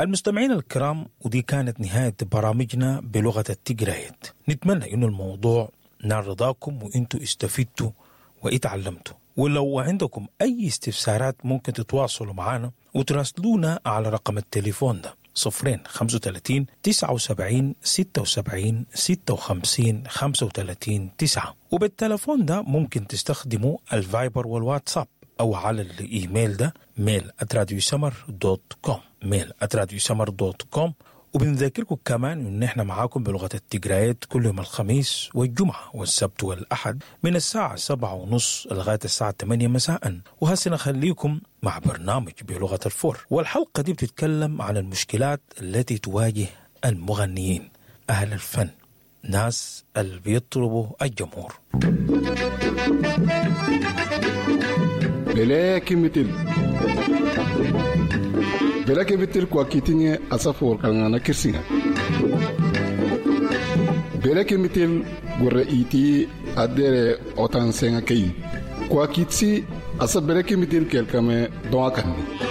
المستمعين الكرام، ودي كانت نهاية برامجنا بلغة التجرايت. نتمنى إنه الموضوع نال رضاكم وإنتوا استفدتوا وإتعلمتوا. ولو عندكم أي استفسارات ممكن تتواصلوا معنا وتراسلونا على رقم التليفون ده: 0 35 79 76 56 35 9. وبالتلفون ده ممكن تستخدموا الفايبر والواتساب، أو على الإيميل ده: mail@radiosmr.com، mail@radiosmr.com. وبنذكركم كمان إن إحنا معاكم بلغة التجرايات كل يوم الخميس والجمعة والسبت والأحد من الساعة 7:30 لغاية الساعة 8 مساء. وهسه نخليكم مع برنامج بلغة الفور، والحلقة دي بتتكلم عن المشكلات التي تواجه المغنيين، أهل الفن، ناس اللي بيطربوا الجمهور. Bele kimitil bele kimitil kwa kitinye asafor kalngana kirsinga bele kimitil gurre iti adere otan senga kei kwa kitsi asa bele kimitil kelkame doa kanni.